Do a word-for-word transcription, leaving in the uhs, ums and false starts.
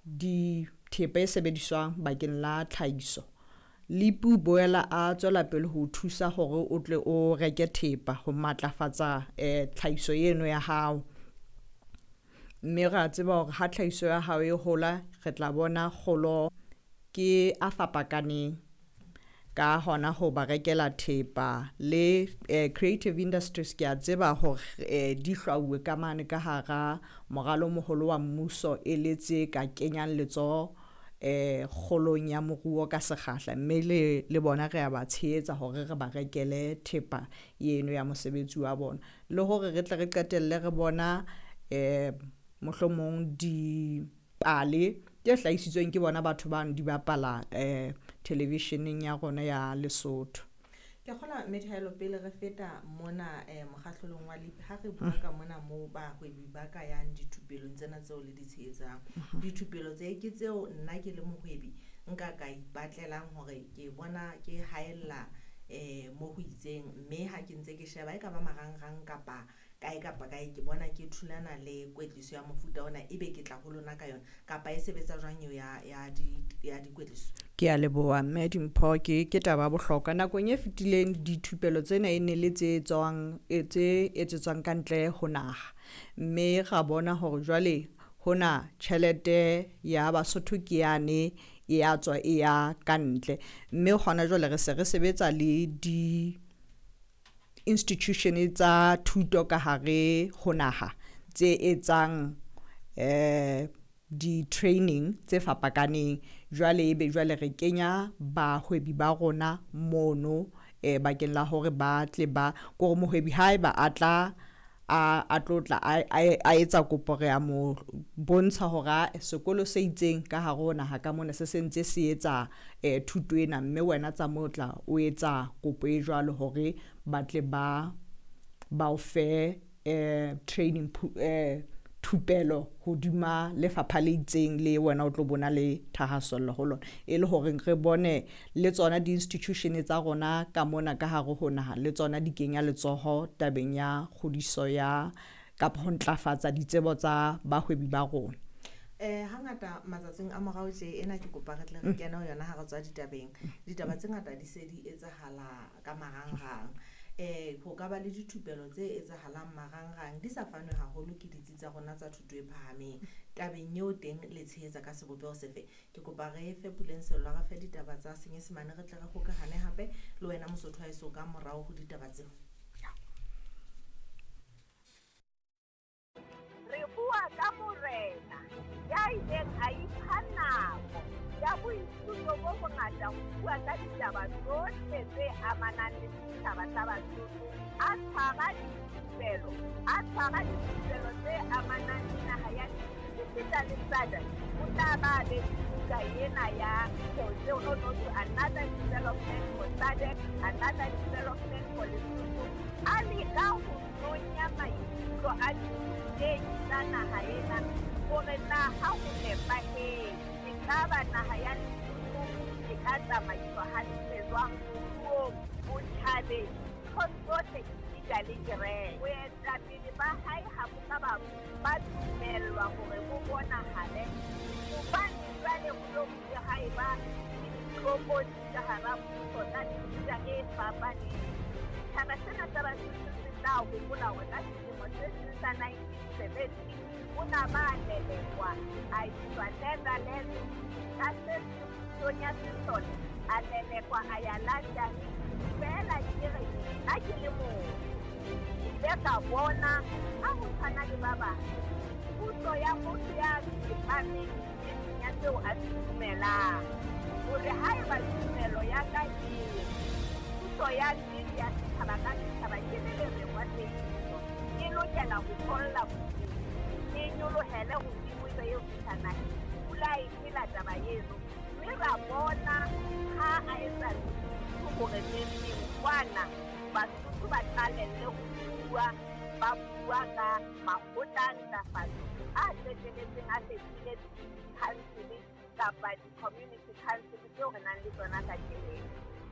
Dithepa e sebediswang bakeng la tlhahiso. L I P o boela a tswela pele ho thusa hore o tle o reke thepa ho matlafatsa eh tlhahiso eno ya hao. Mme ra tseba hore ha tlhahiso ya hao e hola, re tla bona kgolo ke a fapakaneng ka hona ho ba rekela thepa le eh, creative industries. Ke a tseba hore eh, di hlwauwe ka mane ka hara moralo moholo wa mmuso e le tse ka kenyang letsoho eh kgolong ya moruo ka sekgahla, mme le le bona re a ba tshehetsa hore re ba rekele thepa eno ya mosebetsi wa bona, le hore re tle re qetelle re bona eh mohlomong dipale tse hlahisitsweng ke bona batho bano di bapala eh televisioneng ya rona ya Lesotho. Ke kgola Mmethaelo, pele re feta mona eh mokgahlelong wa L I P, ha re bua ka mona moo bahwebi ba ka yang dithupelong tsena tseo le di tshehetsang, dithupelo tse ke tseo nna ke le mohwebi nka ka ipatlelang hore ke bona ke haella eh mo ho itseng, mme ha ke ntse ke sheba e ka ba marangrang kapa kae kapa kae, ke bona ke thulana le kwetliso ya mofuta ona, ebe ke tla ho lona ka yona, kapa e sebetsa jwang eo ya ya di ya dikwetliso? Ke a leboha, mme Dimpho. ke ke taba ya bohlokwa. Nakong e fetileng dithupelo tsena e ne le tse tswang tse etsetswang ka ntle ho naha, mme ra bona hore jwale hona tjhelete ya Basotho ke yane e ya tswa e ya ka ntle. Mme hona jwale re se re sebetsa le di institution tsa thuto ka hare ho naha tse etsang eh di-training tse fapakaneng. Jwale ebe jwale re kenya bahwebi ba rona mono eh bakeng la hore ba tle ba kore mohwebi haeba a tla a a tlo tla a etsa kopo, re a mo bontsha hore sekolo se itseng ka hare ho naha ka mona se sentse se etsa eh thuto ena, mme wena tsa mo tla o etsa kopo e jwalo hore ba tle ba ba o fe eh training eh thupelo hodima lefapha le itseng le wena o tlo bona le thahasello ho lona, e le hore re bone le tsona di-institution tsa rona ka mona ka hare ho naha le tsona di kenya letsoho tabeng ya kgodiso ya kapa ho ntlafatsa ditsebo tsa bahwebi ba rona. eh Hangata matsatsing a morao tje ena, ke kopa re tle re kene ho yona ha re tswa ditabeng. Ditaba tse ngata di se di etsahala ka marangrang. eh ho ka ba le dithupelo tse etsahalang marangrang di sa fanwe haholo ke ditsi tsa rona tsa thuto e phahameng. Tabeng eo teng le tshehetsa ka sebopeho sefe? Ke kopa re fe Puleng Sello, re fe ditaba tsa Senyesemane, re tle re hokahane hape le wena Mosotho wa heso ka morao ho ditaba tseo. Re bua ka morena ya ileng a ipha nako ya boithuto bo bongata ho bua ka ditaba tsohle tse amanang le setjhaba sa Basotho, a tshwara dithupelo a tshwara dithupelo tse amanang le naha ya esita le S A D C. O tla ba be buka ena ya tseo no no to another development for S A D C, another development for Lesotho, a leka ho nonya maikutlo a ditei tsa naha ena hore na ha ho nepahetse ekaba naha ya Lesotho e ka tsamaiswa hantle jwang moruong, botjhabeng, nthong tsohle esita le kereke. Boetapele ba hae ha bo ka ba ba dumellwa hore bo bonahale hobane jwale ho lo bile ha eba le ditlokotsi ka hara puso tsa mefuta e fapaneng. Setjhaba sena sa Basotho se tla hopola hore ka selemo se seng sa nineteen seventy o na ba lelekwa a iswa Netherlands, ka se seng pusong ya sesole a lelekwa a ya London. Feela ke re nna ke le motho ke ile ka bona ha ho tshwana le ba bang puso ya motho ya tsepameng nneteng ya seo a se dumelang, hore haeba tumelo ya ka e re puso ya nnete ya setjhaba ka setjhaba ke le lereng wa tsebiso e lokela ho tholla bodimo, e nyolohele hodimo ebe eo fihla naheng, pula e phela taba eno, mme ra bona ha a etsa hore neng kwana Basotho ba qalelle ho bua, ba bua ka makgotla a ntlafatso a qetelletseng a fetohile di-council kapa di-community council tseo re nang le tsona kajeno.